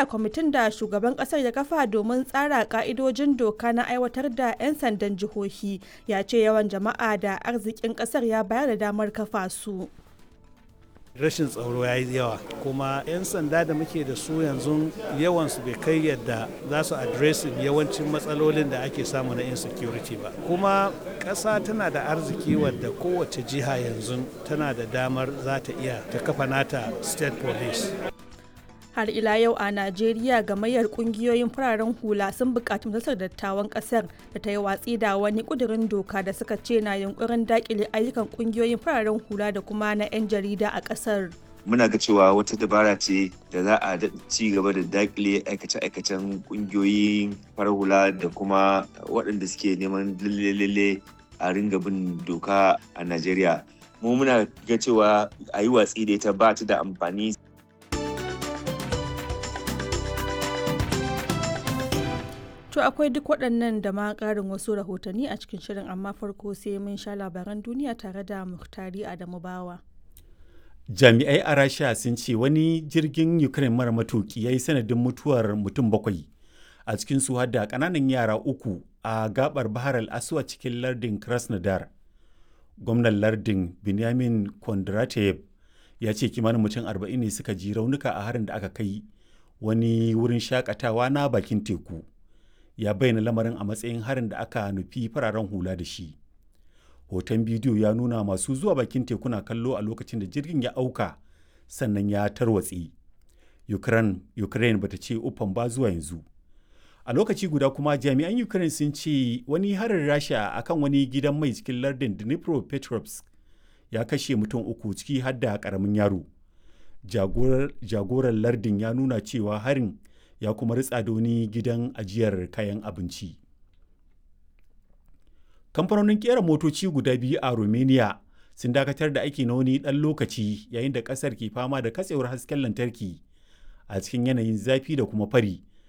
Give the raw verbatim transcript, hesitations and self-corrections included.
Najeriya, kwamitin da shugaban kasar ya kafa domin tsara ka'idojin doka na aiwatar da 'yan sandan jihohi ya ce yawan jama'a da arzikin kasar ya bayar da damar kafa su. Rashin tsaro ya yi yawa, kuma 'yan sanda da muke da su yanzu yawansu bai kai yadda za su addressing yawancin matsalolin da ake samu na insecurity ba. Kuma ƙasa tana da arziki wadda kowace jiha yanzu tana da damar za ta iya ta kafa nata state police. Har ila yau a Najeriya, gamayyar kungiyoyin fararen hula sun buƙaci Majalisar Dattawan ƙasar da ta yi watsi da wani ƙudurin doka da suka ce na yunkurin daƙile ayyukan kungiyoyin fararen hula da kuma na 'yan jarida a ƙasar. Muna ga cewa wata dabara ce da za a ci gaba da dakile aikace-aikacen kungiyoyin farar hula da kuma waɗanda suke neman lalle a ringa bin doka a Najeriya. Mu muna ga cewa a yi watsi da ita, ba ta da amfani. To akwai duk waɗannan da ma ƙarin wasu rahotanni a cikin shirin, amma farko sai mun sha labaran duniya tare da Muhtari Adamu Bawa. Jami'ai a Rasha sun ce wani jirgin Ukraine mara matuki ya yi sanadin mutuwar mutum bakwai a cikin su har da ƙananan yara uku a gabar Bahar al-Aswad cikin lardin Krasnodar. Gwamnan lardin Benjamin Kondratev ya ce kimanin mutum arba'in ne suka ji raunuka a harin da aka kai wani wurin shakatawa na bakin teku. Ya bayyana lamarin a matsayin harin da aka nufi fararen hula da shi. Hoton bidiyo ya nuna masu zuwa bakin teku na kallo a lokacin da jirgin ya auka sannan ya tarwatse. Ukraine, Ukraine bata ce uffan ba zuwa yanzu. A lokaci guda kuma, jami'an Ukraine sun ce wani harin Rasha akan wani gidan mai cikin lardin Dnipropetrovsk ya kashe mutum uku, ciki har da karamin yaro. Jagoran lardin ya nuna cewa harin ya kuma ritsa da wani gidan ajiyar kayan abinci. Kamfanonin kera motoci guda biyu a Romania sun dakatar da aiki na wani ɗan lokaci yayin da ƙasar ke fama da katsewar hasken lantarki a cikin yanayin zafi da kuma fari